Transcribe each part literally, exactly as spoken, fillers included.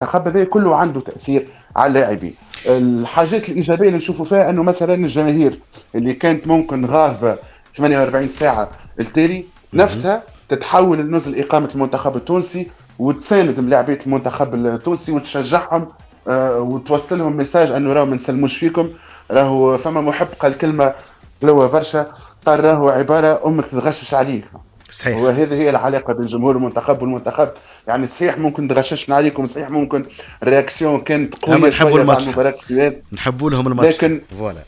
المنتخب هذا كله عنده تاثير على اللاعبين. الحاجات الايجابية اللي نشوفوا فيها انه مثلا الجماهير اللي كانت ممكن غاضبه ثمانية وأربعين ساعة التالي نفسها تتحول لنزل اقامه المنتخب التونسي وتساند ملاعبيه المنتخب التونسي وتشجعهم آه وتوصل لهم message انه راهو ما نسلموش فيكم. راهو فما محب قال كلمة حلوة برشا، قال راهو عبارة امك تتغشش عليك. صحيح، وهذه هي العلاقة بين جمهور المنتخب والمنتخب. يعني صحيح ممكن تغششنا عليكم، صحيح ممكن réaction كانت قوية شوية بعد مباراة السويد، نحبوا لهم المصلحة، لكن voilà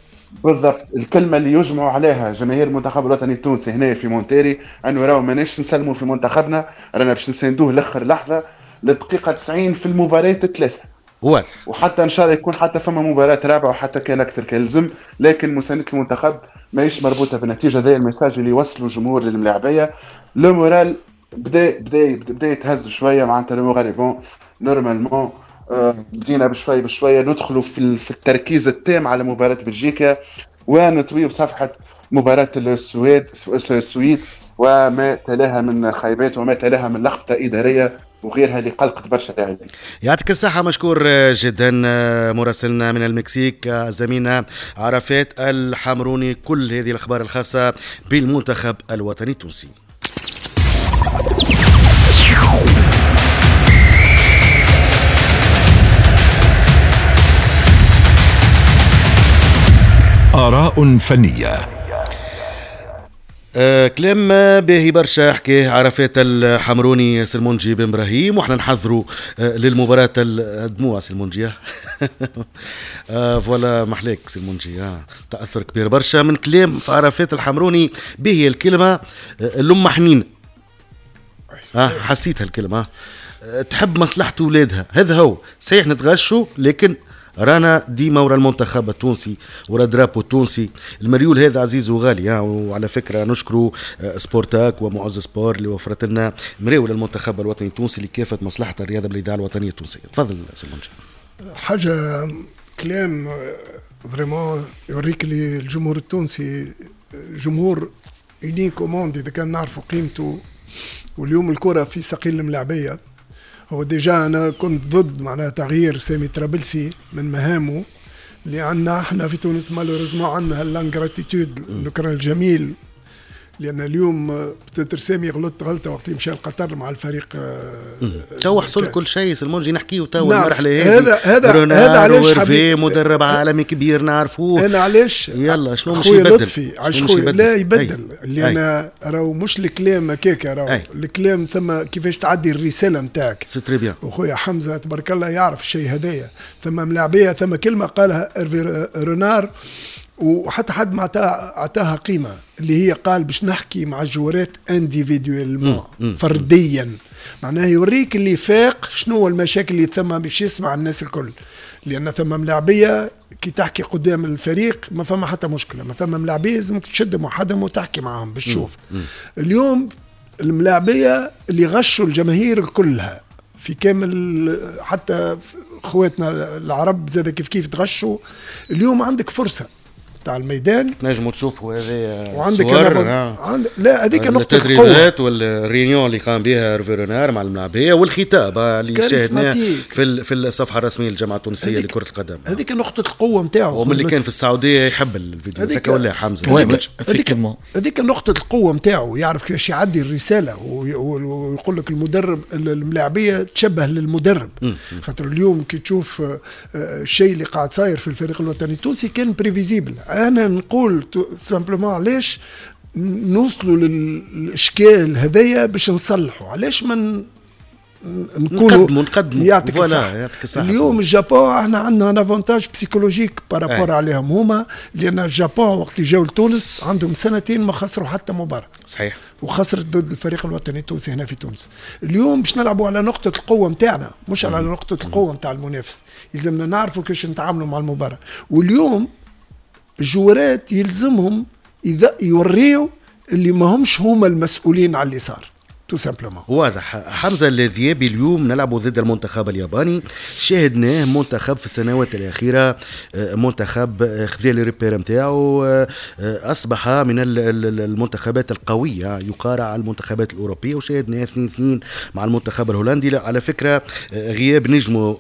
بالضبط الكلمة اللي يجمعوا عليها جماهير المنتخب الوطني التونسي هنا في مونتيري انه راهو ماناش نسلموا في منتخبنا، رانا باش نساندوه لاخر لحظة للدقيقه تسعين في المباراة الثلاثة. واضح، وحتى ان شاء الله يكون حتى فما مباراة رابعه وحتى كان اكثر كان لزم، لكن مساندة المنتخب ماهيش مربوطة بالنتيجة. هذا ال message اللي وصلوا الجمهور للملاعبيه. le moral بدا بدا بدا يتهز شوية، معناتها le moral bon normalement بدينا بشوية بشوية ندخلوا في في التركيز التام على مباراة بلجيكا ونطوي بصفحة مباراة السويد السويد وما تلاها من خيبات وما تلاها من لخبطة ادارية وغيرها اللي قلقت برشا لاعبين. يعطيك الصحة، مشكور جدا مراسلنا من المكسيك زميلنا عرفات الحمروني، كل هذه الأخبار الخاصة بالمنتخب الوطني التونسي. آراء فنية. آه كلام باهي برشا حكاه عرفات الحمروني سلمونجي بن ابراهيم، واحنا نحضروا آه للمباراة الدموع سلمونجي. آه voilà محلاك سلمونجي، آه تاثر كبير برشا من كلام عرفات الحمروني. باهي الكلمة آه الام حنينه، آه حسيتها الكلمة، آه تحب مصلحة اولادها، هذا هو صحيح نتغشوا لكن رانا ديما ورا المنتخب التونسي ورا drapeau التونسي، المريول هذا عزيز وغالي. وعلى فكرة نشكروا سبورتاك ومعز سبور اللي وفرت لنا مريول المنتخب الوطني التونسي لكافة مصلحة الرياضة بالاذاعه الوطنية التونسية. تفضل سلمونجي. حاجة كلام vraiment يوريك لي الجمهور التونسي جمهور unique au monde اذا كان نعرفوا قيمته. واليوم الكره في سقيل الملاعبيه. هو déjà انا كنت ضد معناها تغيير سامي ترابلسي من مهامه، لان احنا في تونس malheureusement عندنا l'ingratitude النكران الجميل. لان اليوم peut-être سامي غلط غلطه وقت اللي مشى لقطر مع الفريق. تو حصل كل شيء سلمونجي، نحكيو تو المرحلة هذه. هذا هذا هذا علاش حبيت مدرب عالمي كبير نعرفوه. انا علاش يلا شنو مش يبدل لطفي علاش خويا لا يبدل، لان راهو مش الكلام هكاك، راهو الكلام ثم كيفاش تعدي الرسالة نتاعك. c'est très bien. وخويا حمزة تبارك الله يعرف الشيء هذايا. ثم ملاعبيه، ثم كلمة قالها إيرفي رونار وحتى حد ما عطاها قيمة، اللي هي قال باش نحكي مع الجوارات individuellement فرديا، معناها يوريك اللي فاق شنو هو المشاكل اللي ثم باش يسمع الناس الكل. لان ثم ملاعبيه كي تحكي قدام الفريق ما فما حتى مشكلة، ما ثم ملاعبيه لازمك تشدهم وحدهم وتحكي معاهم باش تشوف. اليوم الملاعبيه اللي غشوا الجماهير كلها في كامل، حتى خواتنا العرب زاد كيف كيف تغشوا. اليوم عندك فرصة تاع الميدان تنجموا تشوفوا هذه وعندك آه. عند... لا هذيك نقطة التدريبات وال réunion اللي قام بها إيرفي رونار مع الملاعبيه والخطاب اللي شاهدناه في في الصفحة الرسمية للجامعة التونسية لكرة القدم. هذيك نقطة القوة نتاعو، ومن اللي كان في السعودية يحب الفيديو هذاك ولا حمزة. هذيك هذيك نقطة القوة نتاعو، يعرف كيفاش يعدي الرسالة ويقول لك المدرب الملاعبيه تشبه للمدرب. خاطر اليوم كي تشوف الشيء اللي قاعد صاير في الفريق الوطني التونسي كان prévisible. انا نقول simplement علاش نوصلوا للاشكال هذايا باش نصلحوا، علاش ما نقولوا نقدموا نقدموا يعطيك الصحة. اليوم الجابون احنا عندنا un avantage psychologique par rapport عليهم هما، لان الجابون وقت اللي جاوا لتونس عندهم سنتين ما خسروا حتى مباراة. صحيح. وخسرت ضد الفريق الوطني التونسي هنا في تونس. اليوم باش نلعبوا على نقطة القوة نتاعنا مش على نقطة القوة نتاع المنافس، يلزمنا نعرفوا كيفاش نتعاملوا مع المباراة. واليوم الجوارات يلزمهم اذا يوريوا اللي ما همش هما المسؤولين على اللي صار. tout simplement. واضح. حمزة الذيابي، اليوم نلعب ضد المنتخب الياباني، شاهدناه منتخب في السنوات الاخيره، آه، منتخب آه، خذا les repères نتاعو، آه، اصبح من المنتخبات القويه، يقارع المنتخبات الاوروبيه، وشاهدناه اثنين اثنين مع المنتخب الهولندي. على فكره، غياب نجمه.